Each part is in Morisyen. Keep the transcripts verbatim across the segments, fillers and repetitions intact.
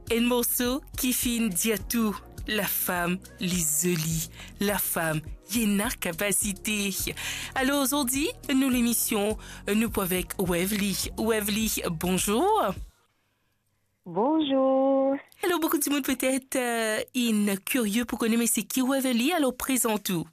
Enn morso ki finn dir tou, lafam li zoli, lafam li ena kapasite. Alor zordi, nou lemision, nou pou avek Waverly. Waverly, bonzour. Bonzour. Alor, boukou dimoun petet, eh, inn kirie pou kone, me se ki Waverly? Alor, prezant ou.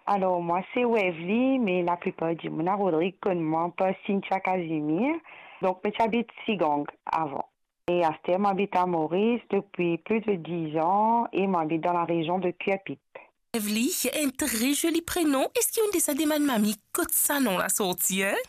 Alor, mwa se Waverly, me laplipar dimoun a Rodrig konn mwa par Cynthia Casimir. Donk, mo ti abit Sigang avan. E aster, mo abit a Moris depi plis de diz an e mo abit dan larezion de Curepipe. Waverly, enn tre zoli prenom. Eski ou'nn deza demann mami kot sa nom la sorti, hein?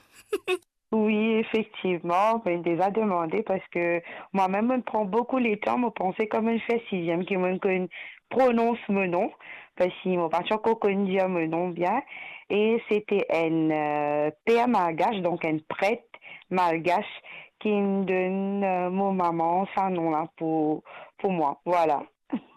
Wi, efektivman, mo'nn deza demande, parski mwa mem, mo'nn pran boukou letan, mo panse kan mo'nn fer siziem ki mo'nn konn pronons mo nom, parski mo pa ti ankor konn dir mo nom bien. E se ti enn, eh, per malgas, donk enn pret malgas, ki'nn donn, eh, mo mama sa nom la pou, pou mwa. Vwala.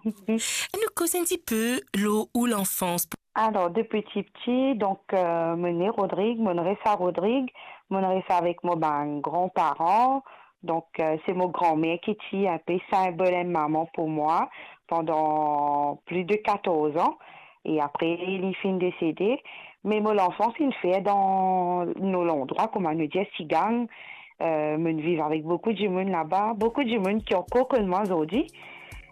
Nou koz enn tipe lor ou lanfans. Alor, depi tipti, donk, eh, mo ne Rodrig, mo'nn res a Rodrig, mo'nn res avek mo bann granparan. Donk, eh, se mo granmer ki ti enpe sinbol enn mama pou mwa pandan plis de katorz an. E apre, li finn desede. Me mo lanfans inn fer dan nou landrwa, kouma nou dir, Sigang. Eh, mo'nn viv avek boukou dimoun laba, boukou dimoun ki ankor konn mwa zordi.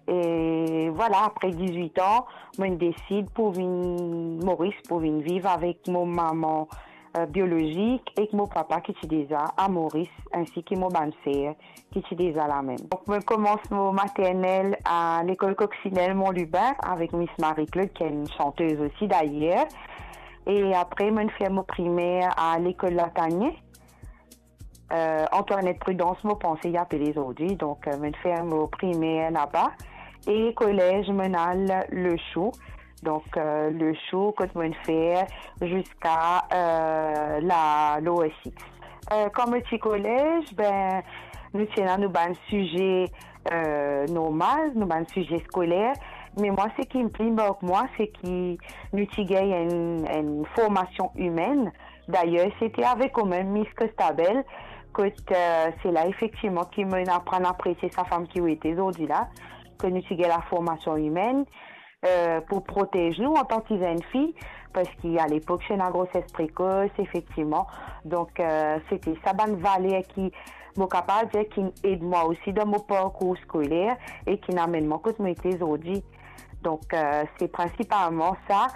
E vwala, apre dizwit an, mo'nn desid pou vinn Moris, pou vinn viv avek mo mama, eh, biolozik, ek mo papa ki ti deza a Moris, ensi ki mo bann ser ki ti deza la mem. Donk, mo koumans mo maternel a lekol Coccinelle Mont Lubin avek Miss Marie-Claude, ki enn santez osi dayer. E apre, mo'nn fer mo primer a lekol Latanie. Eh, Antoinette Prudence, mo panse li apele zordi. Donk, eh, mo'nn fer mo primer laba. E kolez, mo'nn al Le Chou. Donk, eh, Le Chou, kot mo'nn fer ziska, eh, la lower six. Eh, kan mo ti kolez, be, nou ti ena nou bann size, eh, normal, nou bann size skoler. Me mwa, seki pli mark mwa, seki nou ti gagn enn, enn formasion imenn. Dayer, se ti avek ou mem, Miss Costabel, kot, eh, se la efektivman ki mo'nn aprann apresie sa fam ki ou ete zordi la, ke nou ti gagn la formasion imenn, eh, pou protez nou antan ki zenn fi, parski a lepok, ti ena groses prekos, efektivman. Donk, eh, se ti sa bann valer ki, mo kapav dir, ki'nn ed mwa osi dan mo parkour skoler e ki'nn amenn mwa kot mo ete zordi. Donk, eh, se prinsipalman sa.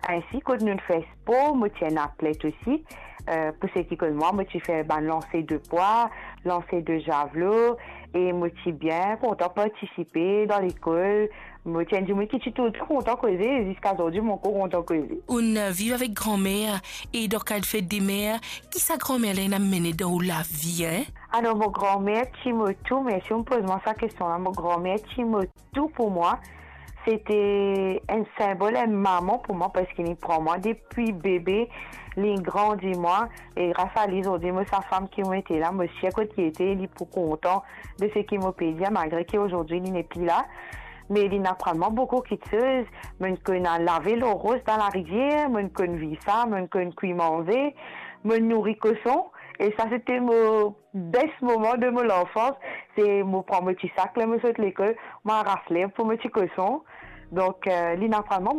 Ensi, kot nou fer spor, mo ti enn atlet osi. Eh, pou seki konn mwa, mo ti fer bann lanse de pwa, lanse de zavlo, e mo ti bien kontan partisipe dan lekol. Mo ti enn dimoun ki ti toultan kontan koze, ziska zordi mo ankor kontan koze. Ou'nn viv avek granmer, e dan kad fet de mer, ki sa granmer la inn amenn dan ou lavi, hein? Alor, mo granmer ti mo tou, mersi ou'nn poz mwa sa kestion la, mo granmer ti mo tou pou mwa. Se ti enn sinbol, enn mama pou mwa, parski li pran mwa depi bebe, li grandi mwa, e gras a li, zordi mo sa fam ki mo ete la, mo sir kot li ete, li pou kontan de seki mo pe dir, malgre ki zordi li nepli la. Me li'nn aprann mwa boukou kiksoz. Mo'nn konn al lave lor ros dan larivier, mo'nn konn viv sa, mo'nn konn kwi manze, mo'nn nouri koson. E sa, se ti mo best moman de mo lanfans. Se mo pran mo ti sak ler mo sot lekol, mo aras lerb pou mo ti koson. Donk, eh, li'nn aprann mwa